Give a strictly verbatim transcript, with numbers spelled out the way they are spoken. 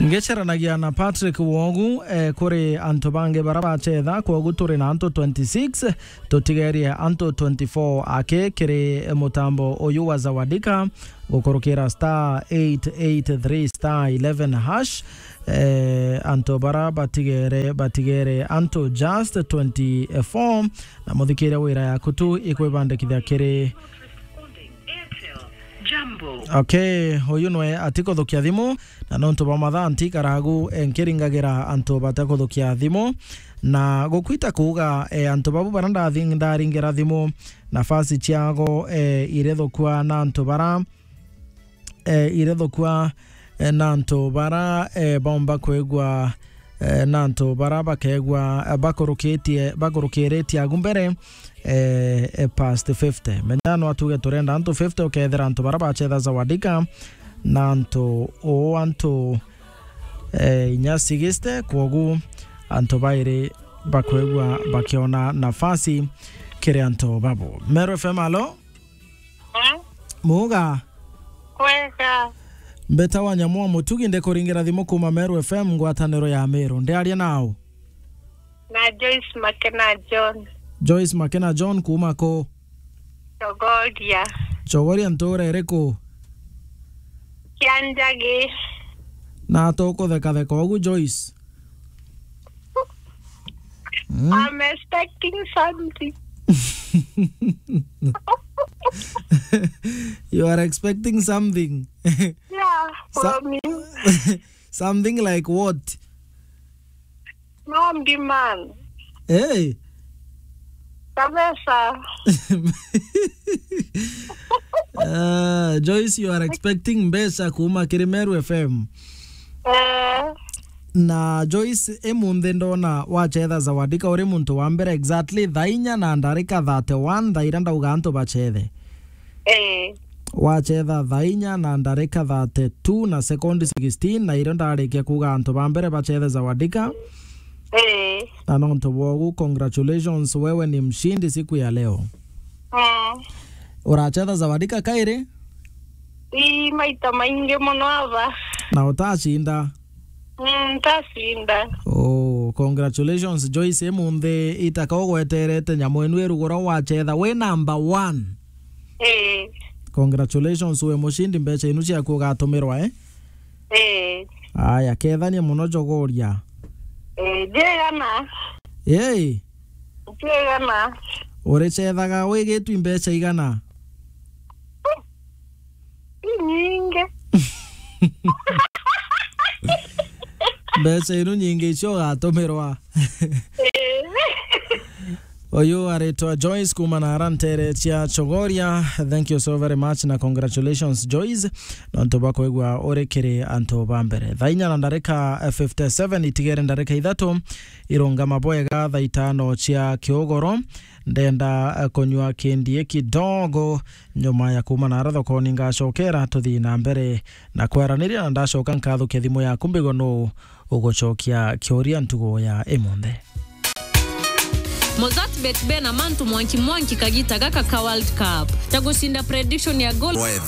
Ngiceranagia na Patrick Wogu, eh, kuri antu bangi bara bacetha, kwogu turi na antu twenty-six, tutigerie antu twenty-four aki kiri mutambo uyu wa Zawadika, gukurukira star eight eight three star eleven hash. Eh, antu bara batigere, batigere antu just twenty-four, na muthikiria wira yaku tu ikwibandikithia kiri Jambo. Okay, uyu nwe atikuthukia thimu, na nontu bwa mathaa ntikaragu, eh, nkiringagira antu batakuthukia thimu, na gukwita kuuga, eh, antu babu bara ndathi-, ndaringira thimu, nafasi ciago, eh, irithukua na antu bara, eh, irithukua, eh, na antu bara, eh, baumba kwigua, eh, na antu bara bakegua, eh, bakurukitie, bakurukiritie agu mbere, eh, eh, past fifty. Menya no atuge turenda antu fifty, ukethira antu bara bacetha Zawadika, na antu uu antu, eh, inya sixty, kwogu antu bairi bakwigua bakiona nafasi kiri antu babu. Meru F M, alo? Hmm? Muga? Kwega. Mbeta wa Nyamu wa Mutugi, ndikuringira thimu kuma Meru F M, ngwataniro ya Meru. Ndiaria nau? Na Joyce Makena John. Joyce Makena John kuma ku? Chogoria. Chogoria ntura iriku? Kianjagi. Na tukuthekatheka ugu, Joyce? Hmm? I'm expecting something. You are expecting something? Yeah, Sa- from you. Something like what? No demand. Hey. Kabisa. Ah, Joyce, you are expecting mbeca kuma kiri Meru F M. Eh. Na Joyce, imunthi ndona wacetha Zawadika uri muntu wa mbere exactly thaa inya na ndarika thirty-one, thaa iria ndauga antu bacethe. Eh. Wacetha thaa inya na ndarika thirty-two na sekondi sixteen, na irio ndarikia kuuga antu ba mbere bacethe Zawadika. Eh. Na nontu bwogu, congratulations, wewe ni mshindi siku ya leo. Mm. Uracetha Zawadika kairi? Ii, maita maingi mono aba. Na utacinda? Mm, ntacinda. Oh, congratulations, Joyce. Imunthi itaka ugweterete nyamu inu irugura wacetha wi number one. Eh. Congratulations, wi mushindi, mbeca inu ciaku ugatumirwa, eh? Eh. Aya, kethania muno Chogoria. Eh, njigana. Yei. Njigana. Uricethaga wigitwi mbeca igana? Inyingi. Mbeca inu nyingi icio ugatumirwa. Eh. Uyu aritwa Joyce kuma na ara ntere cia Chogoria. Thank you so very much na congratulations, Joyce, nontu bwa kwigua uri kiri antu ba mbere. Thaa inya na ndarika fifty-seven, itigere ndarika ithatu irungama bwega thaa itano cia kiugoro. Ndenda, eh, kunyua kindie kidogo. Nyuma ya kuma na ara thokoni, ngacokera tuthii na mbere na kwaraniria, na ndacoka nkathukia thimu yaku mbigwe nuu ugucokia kiuria ntugo ya imunthe. Mozart Bet bena mantu mwanki mwanki kagita gaka ka World Cup. Ta gucinda prediction ya goal. Weather.